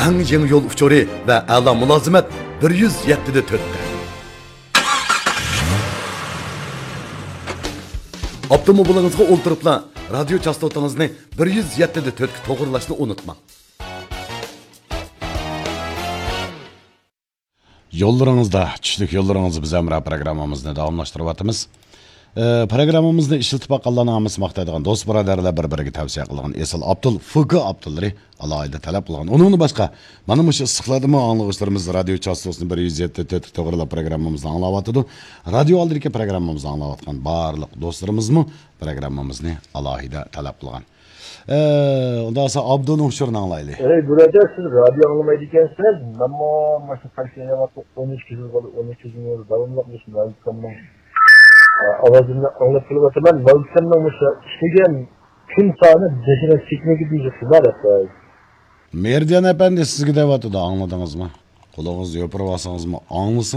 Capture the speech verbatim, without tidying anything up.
ئەڭ يېڭى يول ئۇچۇرى ۋە ئەلا مۇلازىمەت بىر يۈز يەتتە دە تۆتتە. ئاپتوموبىلىڭىزغا ئولتۇرۇپلا رادىيو چاستوتىڭىزنى بىر يۈز يەتتە دە تۆتكە توغرىلاشنى ئۇنتۇماڭ. يوللىرىڭىزدا، چۈشلۈك يوللىرىڭىز بىز ھەمراھ پروگراممىمىزنى داۋاملاشتۇرۇۋاتىمىز. ئە، پروگراممىمىزنى ئىشلىتىپ باققانلارنىڭ ھەممىسى ماختايدىغان دوست بۇرادەرلەر بىر-بىرىگە تەۋسىيە قىلغان ئېسىل ئابدۇل، فۇگى ئابدۇللىرى ئالاھىدە تەلەپ قىلغان. ئۇنىڭدىن باشقا، مانا مۇشۇ ئىسسىقلاردىمۇ ئاڭلىغۇچىلىرىمىز رادىيو چاستوسىنى بىر يۈز يەتتە تۆت توغرىلاپ پروگراممىمىزنى ئاڭلاۋاتىدۇ. رادىيو ئالدىدىكى پروگراممىمىزنى ئاڭلاۋاتقان بارلىق دوستلىرىمىزمۇ پروگراممىمىزنى ئالاھىدە تەلەپ قىلغان. ئە، ئۇنداق بولسا ئابدۇنىڭ ئۇچۇرىنى ئاڭلايلى. ئەي بۇرادەر، سىز رادىيو ئاڭلىمايدىكەنسىز. مەنمۇ مۇشۇ قايسى يەرگە ئون ئىككى يىل بولدى، ئون ئىككى يىل داۋاملىق مۇشۇ مەۋلىتخاننىڭ، ئە، ئاۋازىنى ئاڭلاپ كېلىۋاتىمەن. مەۋلىتخاننىڭ مۇشۇ ئىشلىگەن كۈن سانى بەشىنچى سېكۇنتىگە دېيىشىپتىلا، دەپ قوياي. مېرىدىيان ئەپەندى سىزگە دەۋاتىدۇ، ئاڭلىدىڭىزمۇ؟ قۇلىقىڭىزنى يوپۇرۇۋالسىڭىزمۇ ئاڭلىسىڭىز.